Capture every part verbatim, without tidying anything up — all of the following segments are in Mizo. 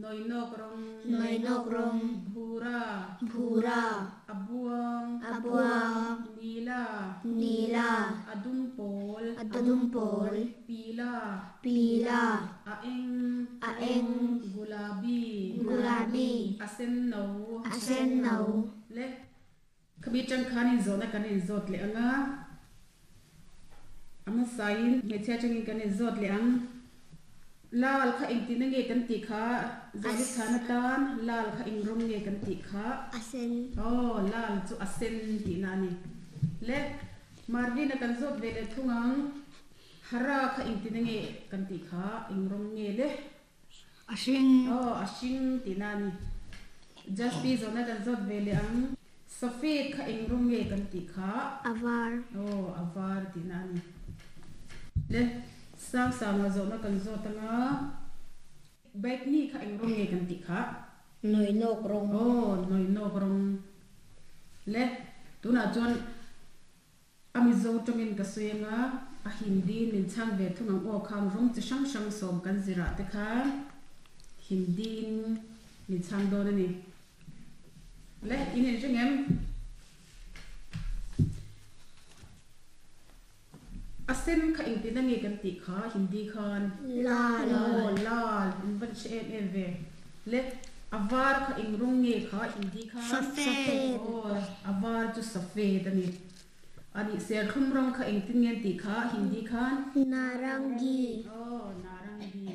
Noinok rong Noinok rong Bhura Bhura Abuang Abuang Nila Nila Adumpol Adumpol Pila Pila Aeng Aeng Gulabi Gulabi Asenno Asenno Le kami tang khanin zona kanin zot le anga ama sain me cha changin kanin zot le ang lal kha ing tin nge kan ti kha zoli khana tan lal kha ing rom nge kan ti kha asen oh lal chu asen ti na ni le marvin kan zot ve le thungang hara kha ing tin nge kan ti kha ing rom nge le asing oh asing ti na ni just be zona kan zot ve le ang safed kha ing rom nge kan ti kha avar oh avar ti na ni le sang sang a zona kan zot anga bike ni kha ing rom nge kan ti kha noi nok rong oh noi nok rong le tuna chon ami zo tongin ka suenga a hindi min chang ve thungang o khang rong chi sang sang som kan zira te kha hindi min chang do ni le in in jengem asen kha ing tin nge kan ti kha hindi khan lal oh lal in ban che em em ve le avar kha ing rong nge kha hindi khan safed oh avar chu safed ani ani ser khum rong kha ing tin nge ti kha hindi khan narangi oh narangi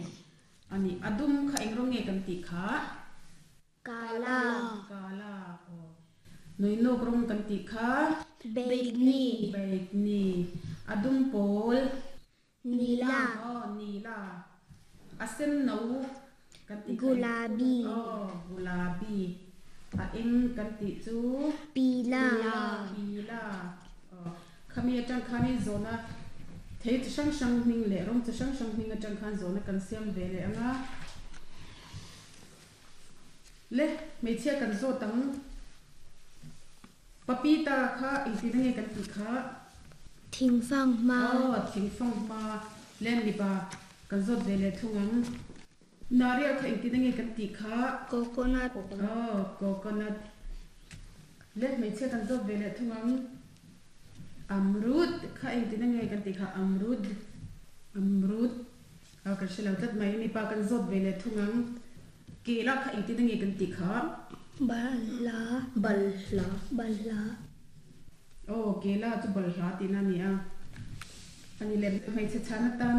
ani adum kha ing rong nge kan ti kha kala kala oh noi nok rong kan ti kha baigni baigni adum pol nila oh nila asen no kan ti gulabi oh gulabi a eng kan ti chu pila pila oh khami atang khani zona thei chi sang sang hming le rong chi sang sang hming atang khan zona kan siam ve le anga le meichhia kan zo tang papita kha ing ti nge kan ti kha thingfang ma oh thingfang ma len li ba kan zot ve le thungang naria kha ing ti nge kan ti kha coconut oh coconut le meichhia kan zot ve le thungang amrut kha ing ti nge kan ti kha amrut amrut a kan shelo tat mai mi pa kan zot ve le thungang kela kha ing ti nge kan ti kha bala balla bala oh kela chu balha ti na ni a ani le mai che chana tan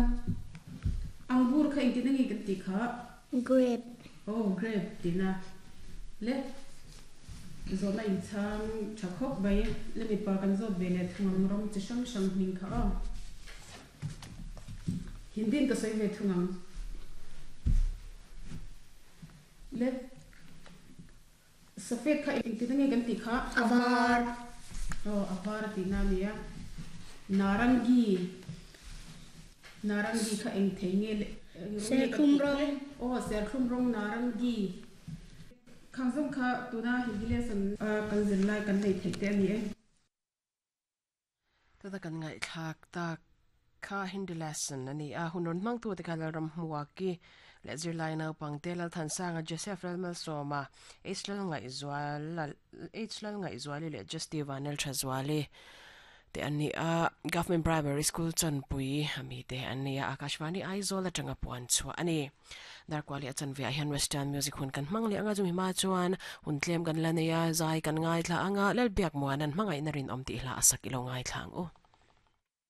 angur kha ing ti nge kan ti kha grape oh grape ti na le zona in chang chakhok bai le mi pa kan zot ve le thungang rong chi sang sang hming kha a hindin ka sei ve thungang le safed kha ing ti nge kan ti kha avar oh avar ti na mi a narangi narangi kha eng thei nge le serkhum rong oh serkhum rong narangi khangzong kha tuna hindi lesson kan zin lai kan nei thei te ani e ta ta kan ngai thak ta kha hindi lesson ani a hunon mang tu te khala ram hmuwa ki le zir lai na pang te lal than sanga Joseph Lalmal Soma H lal ngai zwal H lal ngai zwali le Justiva nel thazwali te ani a government primary school chanpui ami te ani a Akashvani Aizawl atanga puan chua ani darkwali achan ve hian western music hun kan hmang le anga chumi ma chuan hun tlem kan la neia zai kan ngai thla anga lal biak muan an hmangai na rin om ti hla asak ilo ngai thlang u.